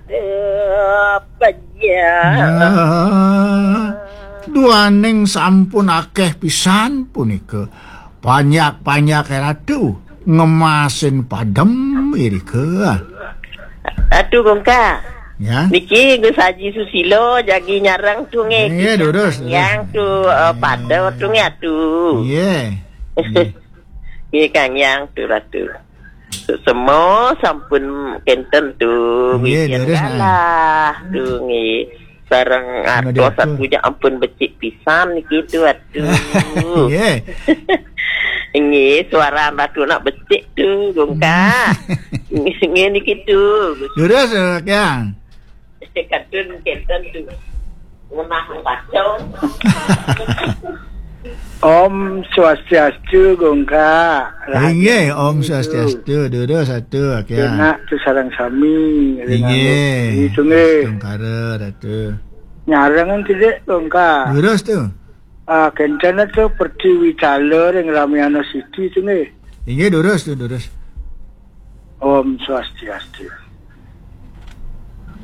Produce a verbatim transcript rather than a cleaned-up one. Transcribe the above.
Apa ya? Nah, duaning sampun akeh pisan punika. Panjak-panjak Ratu ngemasin padem irika. Ratu Gongka. Ya. Niki Gus Haji Susilo jagi nyareng tu nggih. Nggih, durus, durus. Yang tu, eh, pada tu nggih atu. Nggih. Nggih, Kang Yang tu Ratu. Semua sampun kenten tu, nggih, wijen durus, nah. Galah tu nggih. Sareng artos atu nya ampun becik pisan niki tu atu. Nggih. Nggih, suara Ratu nak becik tu, Gongka. Nggih niki tu. Durus, eh, Kang. Kadun kenten tu. Ngenah baca. Om Swastiastu, Gongka. Inggih, Om Swastiastu. Durus atu, Kang. Enak tu sareng sami. Inggih. Itu nggih. Tungkara, Ratu. Nyarengan tidak, Gongka. Durus tu. Ah, kenten tu Pertiwi Cala ring Ramayana Siti tu nggih. Inggih, durus tu, durus. Om Swastiastu.